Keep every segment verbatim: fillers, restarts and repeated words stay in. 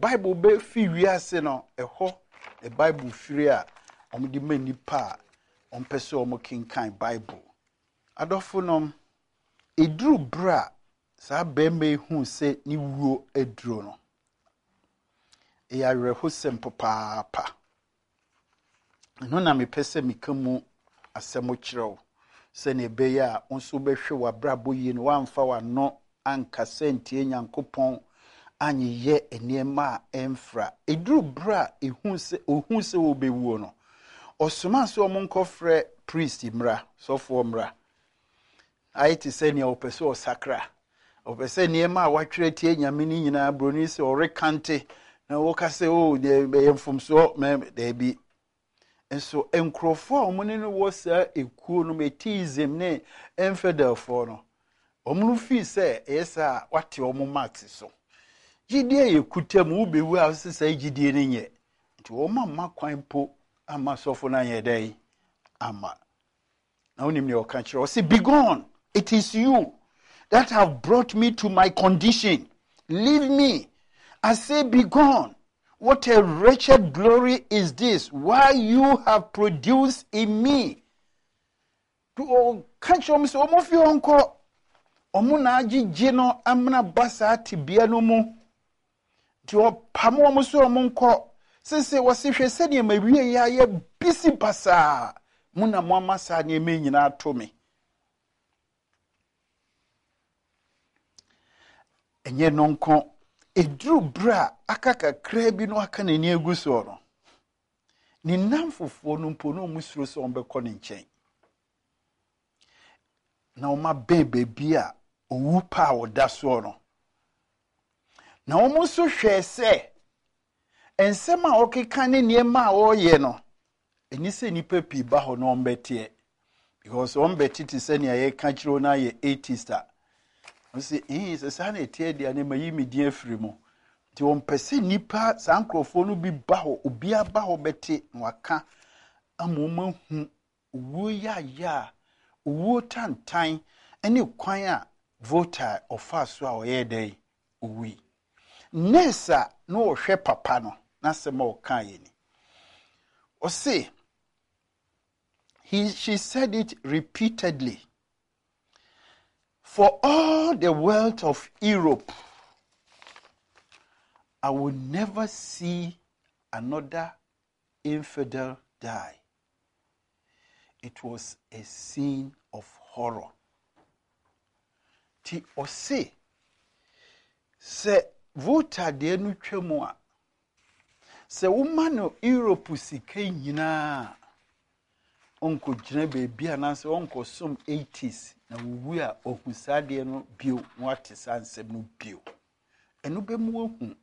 Bible bɛfi wiase no, ɛhɔ na Bible firi a wɔde ma nnipa a wɔmpɛ sɛ wɔkenkan Bible. Adɔfonom, ɛduru berɛ a saa barima yi huu sɛ ne wuo aduro no, ɛyɛ awerɛhosɛm papaapa. Ɛno na mepɛ sɛ meka mu asɛm kyerɛ wo sɛnea ɛbɛyɛ a wo nso wobɛhwɛ w'abrabɔ yie no woamfa w'ano ankasa ntie Nyankopɔn anyeyɛ nneɛma a ɛmfra. Ɛduru berɛ a ɛhu sɛ ɔhu sɛ wɔbɛwuo no, ɔsomaa sɛ wɔn nkɔfrɛ priest mmra, sɔfoɔ mmra. Ayɛ te sɛ nea ɔpɛ sɛ ɔsakra. Ɔpɛ sɛ nneɛma a watwerɛ tie Nyame no nyinaa buroni sɛ ɔrekante na wɔka sɛ o ɛyɛ mfomsoɔ mɛ daabi. Nso nkurɔfoɔ a wɔn ne no wɔ saa ekuo no atheism ne infidelfoɔ no, wɔn no fii sɛ ɛyɛ saa a wate wɔn marks so. Gyidie yɛ kuta mu wobɛwu a wɔsɛ saa gyidie no nyɛ. Nti wɔn amma kwan mpo ama sɔfo no anyɛ dɛn ama. Na wonim nea ɔka kyerɛ ɔsɛ be gone it is you that have brought me to my condition leave me I say be gone what a wretched glory is this why you have produced in me ɔka kyerɛ wɔn sɛ wɔn fi hɔ nkɔ wɔn na agyegye no amena ba saa tebea no mu nti ɔpam wɔn so wɔn nkɔ sese wɔsi hwɛ sɛdeɛ ma wie yɛ ayɛ bisi basaa mo na mo ama saa nneɛma yi nyinaa ato me ɛnyɛ no nko eduru berɛ a aka kakraa bi no aka n'ani agu soɔ no ne nnamfofoɔ no mpo na wɔn suro sɛ wɔbɛkɔ ne nkyɛn na wɔn abɛn baabi a owu pa a ɔda soɔ no na wɔn nso hwɛɛ sɛ nsɛm a ɔkeka ne nneɛma a ɔreyɛ no ɛni sɛ nnipa pii ba hɔ na wɔn bɛteɛ because wɔn bɛte te sɛ nea yɛka kyerɛ wɔn ayɛ atheist a wɔn sɛ ɛn sɛ saa na ɛteɛ deɛ ne ma yi mi din afiri mu nti wɔn pɛ sɛ nnipa saa nkurɔfoɔ no bi ba hɔ obiara ba hɔ bɛte na waka ama wɔn ahu owuo yaaya a owuo tantan ne kwan a Voltaire ɔfaa so a ɔyɛɛ dɛn owui nurse a na ɔhwɛ papa no n'asɛm a ɔka yɛ ni ɔse he she said it repeatedly for all the wealth of Europe I will never see another infidel die. It was a scene of horror. Ti ɔse sɛ Voltaire deɛ no twa mu a sɛ woma no Europe sika nyinaa ɔnkɔgyina baabi anaasɛ ɔnkɔsom atheist na wowu a ɔhu saa adeɛ no bio na wate saa nsɛm no bio ɛno bɛmu wahu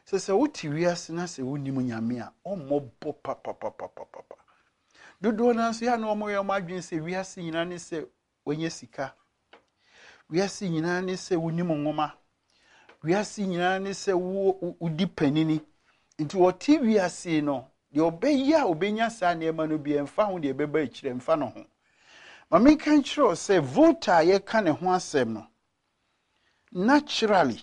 sɛ sɛ wote wiase na sɛ wonim Nyame a ɔmmɔbɔ papapapapapa dodoɔ no nso yɛ na ɔmoyɛ ɔmo adwene sɛ wiase nyinaa ne sɛ wɔnyɛ sika wiase nyinaa ne sɛ wonim nwoma wiase nyinaa ne sɛ wo wodi panini nti wɔte wiase no deɛ ɔbɛyɛ a ɔbɛnya saa nneɛma no bi ɛmfa ho deɛ ɛbɛba akyire ɛmfa no ho ma menka nkyerɛ wo sɛ Voltaire a yɛka ne ho asɛm no naturally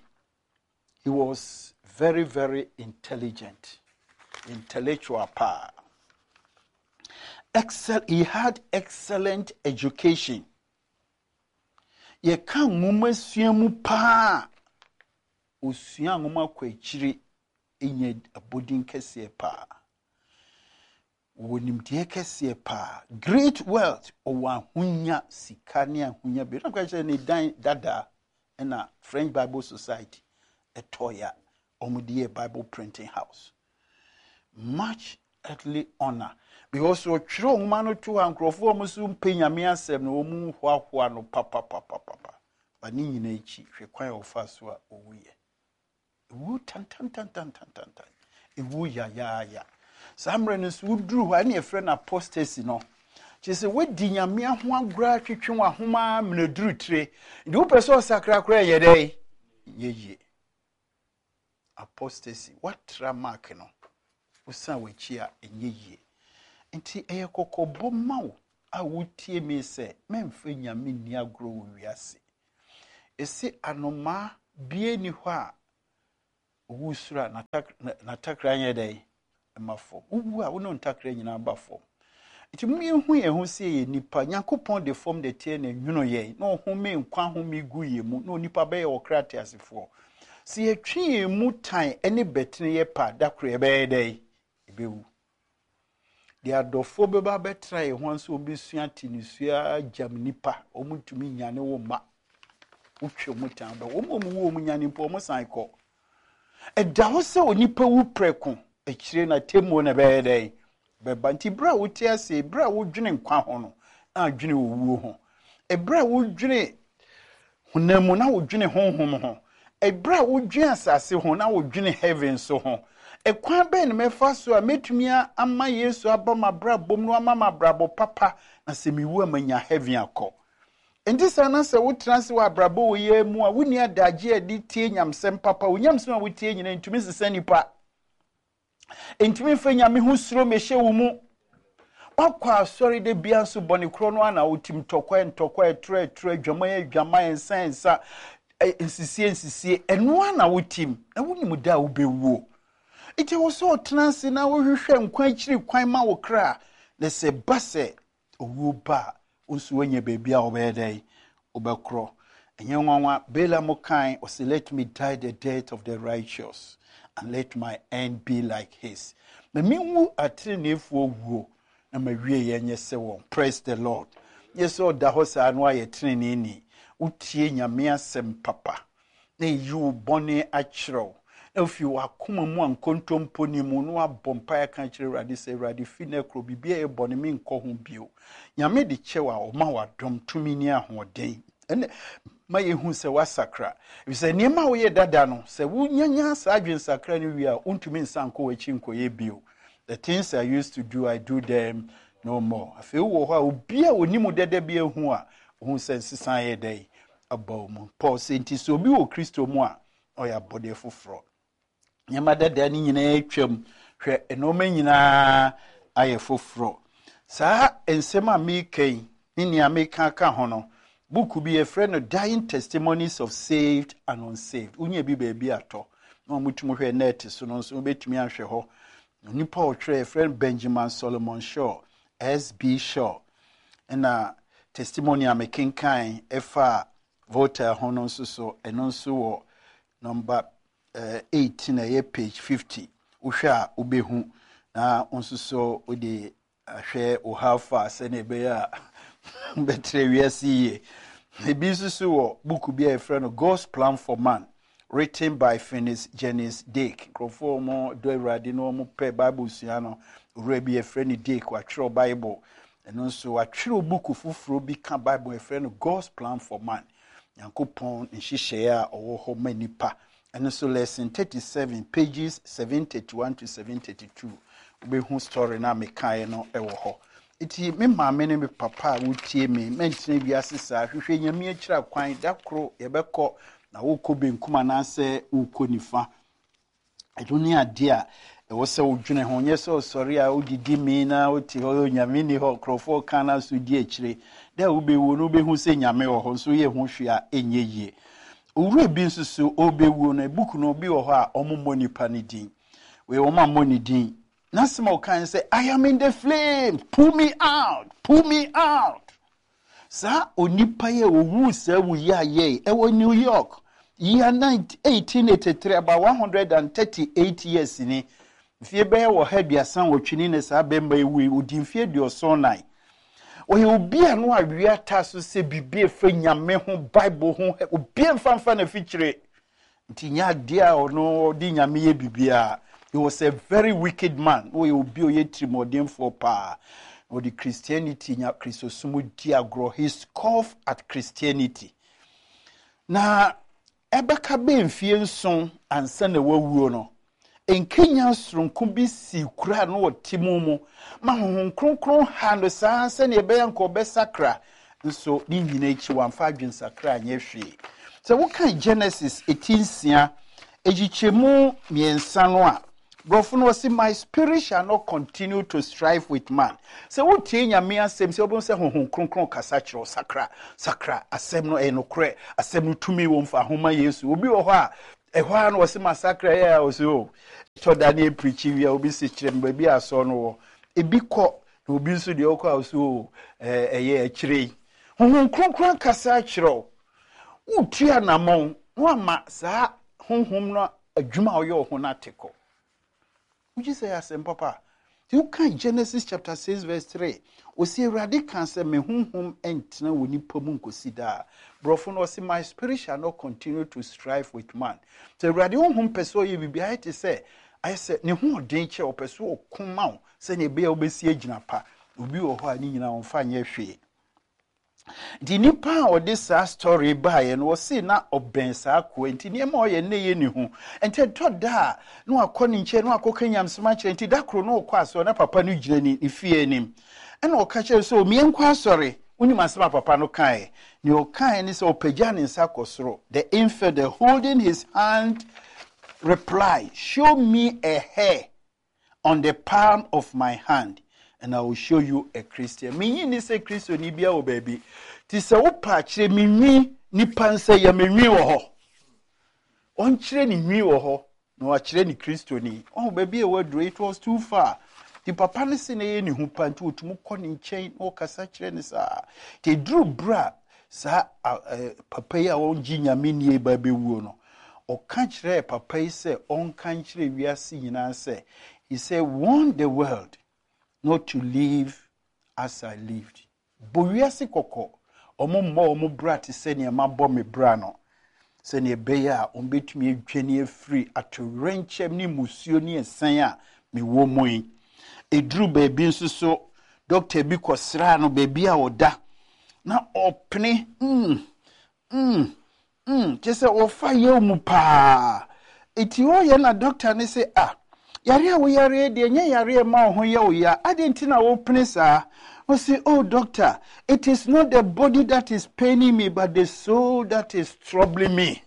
he was very very intelligent intellectual paa excel he had excellent education yɛka nwoma sua mu paa osua nwoma kɔ akyire nya abɔdin kɛseɛ paa wɔwɔ nimdeɛ kɛseɛ paa great wealth ɔwɔ ahonya sika ne ahonya bi na kyerɛ ne dan dadaa ɛna French Bible Society ɛtɔɔyɛ a wɔde yɛ Bible printing house much earthly honour because ɔtwerɛ nwoma no to hɔ a nkurɔfoɔ a wɔn nso mpɛ Nyame asɛm no wɔn hoahoa no papapapapa ba ne nyinaa akyi hwɛ kwan a ɔfa so a ɔwuyɛ ewu tantantantantantan ewu yayaaya saa mmerɛ no nso woduru hɔ a ɛne yɛfrɛ no apostasy no kyerɛ sɛ woadi Nyame ho agorɔ atwetwe w'ahoma mmerɛ duru tire nti wopɛ sɛ ɔsakra koraa yɛ dɛn yɛ yie apostasy woatra mark no wosan w'akyi a ɛnyɛ yie nti ɛyɛ kɔkɔbɔ ma wo a wotie me sɛ mɛmfa Nyame nni agorɔ wɔ wiase ɛsi anomaa bie ni hɔ a Owu soro a, n'atakra nyɛ dɛn? Ɛma fam. Wowu a, wo ne ntakra nyinaa ba fam. Nti mu yɛhu yɛn ho sɛ yɛ nipa. Nyankopɔn de fam de teɛ na nwuno yɛn na ɔhome nkwa home gu yɛn mu na onipa bɛyɛ ɔkra teasefoɔ. Sɛ yɛtwe yɛn mu tan ne bɛtene yɛ pa, da koro yɛbɛyɛ dɛn? Yɛbɛwu. Deɛ adɔfoɔ bɛba bɛtena yɛn ho nso, wɔbɛsua te ne sua gyam nipa, wɔn ntumi nyane wo mma. Wotwe wɔn tan bɛ wɔn a wɔn wu, wɔn nyane mpo, wɔn san kɔ. Ɛda hɔ sɛ onipa wu prɛko, akyire na temmuo na ɛbɛyɛ dɛn? Bɛba. Nti berɛ a wote ase, berɛ a wodwene nkwa ho no, na adwene owuo ho. Ɛberɛ a wodwene honam mu na wodwene honhom ho. Ɛberɛ a wodwene asase ho na wodwene heaven so ho. Ɛkwan bɛn na mɛfa so a mɛtumi ama Yesu aba m'abrabɔ mu no, ama m'abrabɔ papa, na sɛ mewu a manya heaven akɔ? Nti saa na sɛ wotena ase wɔ abrabɔ wɔ yɛ mu a, wonni adagye a de tie nyamsɛm papa. Wo nyamsɛm a wotie nyinaa ntumi nsesa nipa, ntumi mfa Nyame ho suro mehyɛ wo mu. Wakɔ asɔre de bia nso, bɔne korɔ no ana wotim, ntɔkwa ntɔkwa, ɛtorɔ ɛtorɔ, adwaman adwaman, nsa nsa, nsisie nsisie, ɛno ana wotim, na wonim da a wobɛwuo. Nti wɔ sɛ ɔtena ase na wohwehwɛ nkwa akyiri kwan ma wo kra, na sɛ ba sɛ owuo ba a, wo nso woanya baabi a wobɛyɛ dɛn? Wobɛkorɔ. Ɛnyɛ nwanwa Balaam kan ɔsɛ, "Let me die the death of the righteous and let my end be like his." Na menwu ateneneefoɔ wuo na mawie yɛ nyɛ sɛ wɔn. Praise the Lord. Nyɛ sɛ ɔda hɔ saa no ayɛ teneneeni. Wotie Nyame asɛm papa na ɛyi wo bɔne akyerɛw na ofi w'akoma mu a nkontompo ni mu na wabɔ mpaeɛ ka kyerɛ Awurade sɛ, "Awurade, fi no korɔ biribi a ɛyɛ bɔne, menkɔ ho bio." Nyame de kyɛw a, ɔma w'adɔm tumi ne ahoɔden. Ɛnɛ ma yɛhu sɛ woasakra, efisɛ nneɛma a woyɛ dada no, sɛ wonyanya saa adwensakra no wie a, wontumi nsa nkɔ w'akyi nkɔyɛ bio. "The things I used to do, I do them no more." Afei wowɔ hɔ a, obi a onim dada bi ahu a, ohu sɛ nsesa yɛ dɛn? Aba wo mu. Paul sɛ, nti sɛ obi wɔ Kristo mu a, ɔyɛ abɔdeɛ foforɔ. Nneɛma dada no nyinaa atwam, hwɛ, nneɛma nyinaa ayɛ foforɔ. Saa nsɛm a meka yi ne nea meka ka ho no, book bi yɛfrɛ no Dying Testimonies of Saved and Unsaved. Wonya bi baabi atɔ na wɔmutumi hwɛ net so no nso, wobɛtumi ahwɛ hɔ. Onipa a ɔtwerɛ, yɛfrɛ no Benjamin Solomon Shaw, S B. Shaw. Ɛna testimony a mekenkan ɛfa Voltaire ho no nso so, ɛno nso wɔ number uh, eighteen, ɛyɛ page fifty. Wohwɛ a wobɛhu, na nso so wode ahwɛ wo how far sɛnea ɛbɛyɛ a bɛtrɛ wiase yie. Ebi nso so wɔ book bi a yɛfrɛ no God's Plan for Man, written by Phineas Jennings Dake. Nkurɔfoɔ a wɔn dɔ Awurade na wɔn pɛ Bible sua no, owura bi yɛfrɛ no Dake, watwerɛ Bible. Ɛno nso watwerɛ book foforɔ bi ka Bible, yɛfrɛ no God's Plan for Man, Nyankopɔn nhyehyɛeɛ a ɔwɔ hɔ ma nipa. Ɛno nso lesson thirty seven, pages seven thirty one to seven thirty two, wobɛhu story no a mekaeɛ no ɛwɔ hɔ. Nti me maame ne me papa a wotie me, mɛntena wiase saa. Hwehwɛ Nyame akyira kwan. Da koro yɛbɛkɔ, na wokɔ benkum anaasɛ wokɔ nifa, ɛno ne adeɛ a ɛwɔ sɛ wodwene ho. Nyɛ sɛ ɔsɔre a wodidi mi na wote hɔ, Nyame ni hɔ, nkurɔfoɔ ka na so di akyire. Da a wobɛwuo no, wobɛhu sɛ Nyame wɔ hɔ nso woyɛ ho hwee a ɛnyɛ yie. Owura bi nso so ɔbɛwuo no, book no bi wɔ hɔ a ɔmommɔ nipa no din. Wei wɔn ammɔ ne din. N'asɛm a ɔkan sɛ, "I am in the flame, pull me out, pull me out." Saa onipa yi a owu saa wu yi ayɛ ɛwɔ New York year eighteen eighty-three, about one hundred and thirty-eight years ni, mfie bɛyɛ wɔ ha aduasa nwɔtwe ni na saa bɛrima yi wu. Odi mfie aduɔson nan. Ɔyɛ obi a no awia ta so sɛ biribi efa Nyame ho, Bible ho, obi mfa mfa na fikyire nti nyɛ adeɛ a ɔno ɔde Nyame yɛ biribiara. He was a very wicked man. Ɔyɛ obi a ɔyɛ tirimɔdenfoɔ paa. Ɔde Christianity nya Kristosom di agorɔ. He scoff at Christianity. Na ɛbɛka bɛɛ mfie nson ansa na wawuo no, nkenya soronko bi si kura no ɔte mu mu ma Honhom Kronkron ha no saa sɛnea ɛbɛyɛ nka ɔbɛsakra. Nso ne nyina akyi, wamfa adwensakra anyɛ hwee. Sɛ woka Genesis eti nsia ekyikyɛmu mmiɛnsa no a, borɔfo no ɔsi, "My spirit shall not continue to strive with man." Sɛ wotie Nyame asɛm sɛ wobɛhu sɛ Honhom Kronkron kasa kyerɛ wo, sakra, sakra. Asɛm no ɛyɛ nokorɛ, asɛm no tumi wɔ mfa ahoma Yesu. Obi wɔ hɔ a Ɛhɔ ara na wɔsi masakra yɛ a wɔsi o tɔ da ne epirikyi wia, obi si kyerɛ me baabi a asɔ no wɔ. Ebi kɔ na obi nso deɛ ɔkɔ a ɔsi o ɛɛ ɛyɛ akyire yi. Honhom Kronkron kasa akyerɛ wo, wotu anammɔn na wama saa honhom no adwuma a ɔyɛ wɔ ho no ate kɔ. Wogye sɛ yɛ asɛm papa. Nti woka Genesis chapter six verse three, ɔsi Awurade ka sɛ, "Me honhom ntena wɔ nipa mu nkosi daa." Borɔfo no ɔsi, "My spirit shall not continue to strive with man." Sɛ Awurade honhom pɛ sɛ ɔyɛ biribi, ayɛ te sɛ ayɛ sɛ ne ho ɔden kyɛ, ɔpɛ so ɔko ma wo sɛnea ɛbɛyɛ a wobɛsi agyina pa. Obi wɔ hɔ a ne nyinaa ɔmfa nyɛ hwee. Nti nipa a ɔde saa story baeɛ no, wɔse na ɔbɛn saa akoa, nti nneɛma a ɔyɛ ne yɛ ne ho. Nti ɛtɔ da a na wakɔ ne nkyɛn na wakɔka nyamsɛm akyerɛ. Nti da koro na ɔkɔ asɔre na papa no gyina ne ne fie anim, ɛna ɔka kyerɛ sɛ, "Omie nkɔ asɔre." Wonim asɛm a papa no kaeɛ? Nea ɔkaeɛ ne sɛ ɔpagya ne nsa kɔ soro. The infidel, holding his hand, reply, "Show me a hair on the palm of my hand and I will show you a Christian." Menyi ni sɛ Kristoni bia wɔ baabi. Nti sɛ wopa akyerɛ me nwi, nipa nsa yɛ me nwi wɔ hɔ. Ɔnkyerɛ ne nwi wɔ hɔ na wakyerɛ ne Kristoni. Ɔho baabi a waduro, it was too far. Nti papa no se na ɛyɛ ne ho pa, nti ɔtumi kɔ ne nkyɛn na ɔkasa kyerɛ ne saa. Nti ɛduru berɛ a saa papa yi a ɔngye Nyame nie ba bɛwuo no, ɔka kyerɛɛ papa yi sɛ ɔnka nkyerɛ wiase nyinaa sɛ, he said, "Warn the world not to live as I lived." Bɔ wiase kɔkɔ, ɔmo mmɔ ɔmo bra te sɛ nea mabɔ me bra no, sɛnea ɛbɛyɛ a ɔmbɛtumi adwane afiri atowerɛnkyɛm ne musuo ne ɛsɛn a mewɔ mu yi. Ɛduru baabi nso so, dɔkta bi kɔsraa no baabi a ɔda na ɔpene mm mm mm kyɛ sɛ ɔfa yɛw mu paa. Eti ɔyɛ na dɔkta ne sɛ, "Ah, yare a woyare deɛ, nyɛ yare ma wo ho yɛ wo ya, adeɛ nti na wopene saa?" Ɔsi, "Oh doctor, it is not the body that is paining me, but the soul that is troubling me."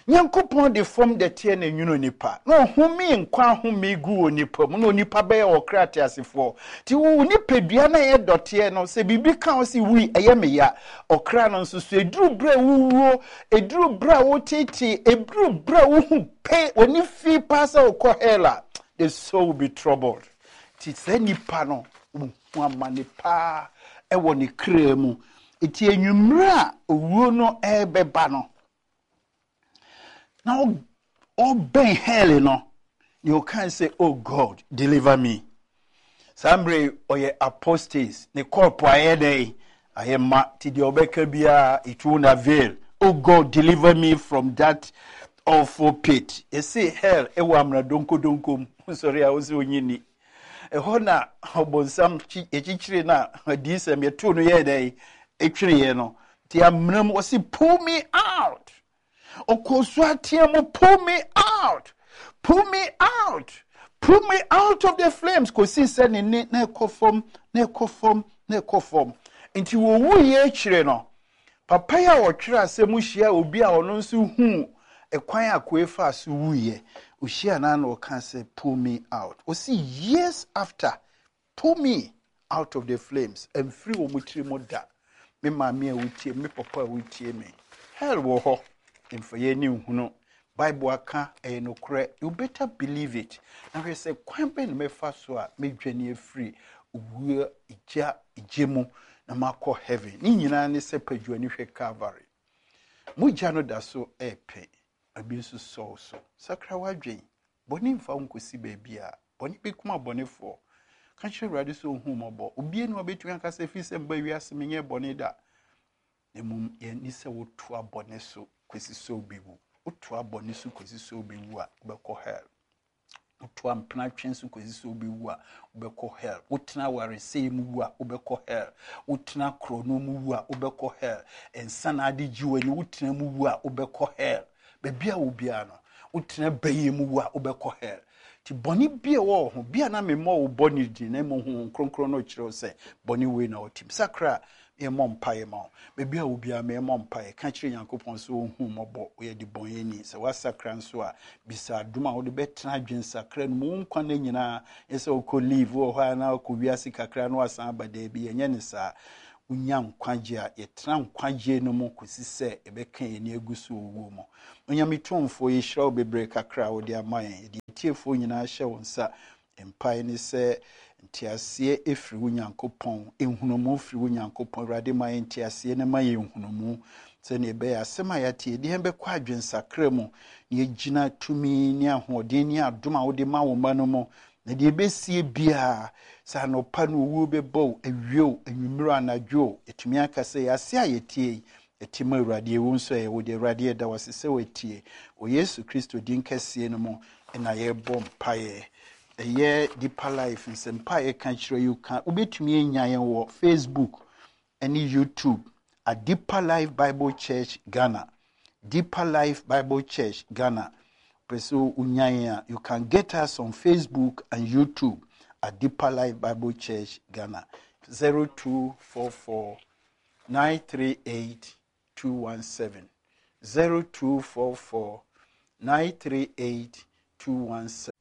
Nyankopɔn de fam dɛteɛ na nwunu nipa na ɔhome nkwa ahome gu wɔ nipa mu na onipa bɛyɛ ɔkra teasefoɔ. Nti wo nipadua no ɛyɛ dɔteɛ no, sɛ biribi ka wo sɛ wui, ɛyɛ me ya. Ɔkra no nso so, ɛduru berɛ a wowuo, ɛduru berɛ a wotetee, ɛduru berɛ a wohu pe w'ani fi paa sɛ wokɔ hell a, the soul will be troubled. Nti saa nipa no wohu amane paa ɛwɔ ne kra mu. Nti enwummerɛ a owuo no ɛrebɛba no na ɔbɛn hell no, nea ɔka sɛ, "Oh God, deliver me." Saa mmerɛ ɔyɛ apostate, ne kɔɔpo ayɛ dɛ ayɛ ma, ti deɛ ɔbɛka biara, it won't avail. "Oh God, deliver me from that awful pit." Yɛse hell ɛwɔ amena donkodonko mu. Sɔre a wosɛ onyi ni ɛhɔ na ɔbɔnsam yɛkyikyire no a adiisɛm yɛtoo no yɛɛ dɛ ɛtwereeɛ no. Nti amena mu, wɔse, "Pull me out." Ɔkɔ so ateɛ mu, "Pull me out, pull me out, pull me out of the flames," kɔsi sɛ ne ne na ɛkɔ fam na ɛkɔ fam na ɛkɔ fam. Nti wɔwu yɛ akyire no, papa yi a ɔtwerɛ asɛm hyia obi a ɔno nso hu ɛkwan a koe fa so wuyɛ. Ohyia na na ɔka sɛ, "Pull me out." Ɔsi years after, "Pull me out of the flames," ɛmfiri wɔn tiri mu da. Me maame a wotie me, papa a wotie me, hell wɔ hɔ. Mfa yɛn ani nhunu. Bible aka, ɛyɛ nokorɛ. You better believe it na hwɛ sɛ kwan bɛn na mɛfa so a mɛdwane afiri owuo gya gye mu na makɔ heaven. Ne nyinaa ne sɛ padwani hwɛ Calvary. Mogya no da so ɛɛpɛ ebi nso sɔw so. Sakra w'adwen. Bɔne mfa wo nkɔsi baabi a bɔne bɛkum abɔnefoɔ. Ka kyerɛ Awurade sɛ ɔhu mmɔbɔ. Obie ne wabɛtumi aka sɛ firi sɛ mba wiase menyɛ bɔne da. Na mmom yɛni sɛ wotoa bɔne so kɔsi sɛ wobɛwu. Wotoa bɔne so kɔsi sɛ wobɛwu a, wobɛkɔ hell. Wotoa mpenatwe so kɔsi sɛ wobɛwu a, wobɛkɔ hell. Wotena awaresɛe mu wu a, wobɛkɔ hell. Wotena korɔno mu wu a, wobɛkɔ hell. Nsa na ade gye w'ani, wotena mu wu a, wobɛkɔ hell. Baabi a wo biara no, wotena bɛyɛ mu wu a, wobɛkɔ hell. Nti bɔne bi a ɛwɔ wo ho bi a na memmɔ wo bɔne din, na mmom Honhom Kronkron no kyerɛ wo sɛ bɔne wei na wɔtim. Sakra, yɛmmɔ mpaeɛ ma wo. Baabi a wo biara, mɛmmɔ mpaeɛ. Ka kyerɛ Nyankopɔn sɛ ɔhu mmɔbɔ, woyɛ de bɔnyɛni. Sɛ woasakra nso a, bisa adom a wode bɛtena adwensakra no mu wo nkwa no nyinaa. Nyɛ sɛ wokɔ leave wɔ hɔ a na wokɔ wiase kakra na wasan aba. Daabi, ɛnyɛ ne saa. Wonya nkwagye a, yɛtena nkwagye no mu kɔsi sɛ ɛbɛka yɛn ani agu so owuo mu. Onyame Tumfoɔ, yɛhyira wo bebree kakra a wode ama yɛn. Yɛde atiefoɔ nyinaa hyɛ wo nsa. Mpae ne sɛ nteaseɛ ɛfiri wo Nyankopɔn, nhunumu firi wo Nyankopɔn. Awurade, ma yɛn nteaseɛ no, ma yɛn nhunumu, sɛnea ɛbɛyɛ asɛm a yɛate yɛde yɛn bɛkɔ adwensakra mu na yɛgyina tumi ne ahoɔden ne adom a wode ma wo mma no mu. Na deɛ ɛbɛsie biara, sɛ anɔpa no owuo bɛbɔ wo, awie o, anwummerɛ, anadwo o, ɛtumi aka sɛ yɛase a yɛtie yi ɛte ma Awurade. Ɛwu nso ɛyɛ wo de. Awurade, yɛda wo ase sɛ watie. Wɔ Yesu Kristo din kɛseɛ no mu ɛna yɛrebɔ mpaeɛ. Ɛyɛ Deeper Life nsɛmpa a yɛka kyerɛ yi ka. Wobɛtumi anya yɛn wɔ Facebook ne YouTube at Deeper Life Bible Church Ghana, Deeper Life Bible Church Ghana. Pɛ sɛ wonya yɛn a, you can get us on Facebook and YouTube at Deeper Life Bible Church Ghana. zero two four four nine three eight two one seven, zero two four four nine three eight two one seven.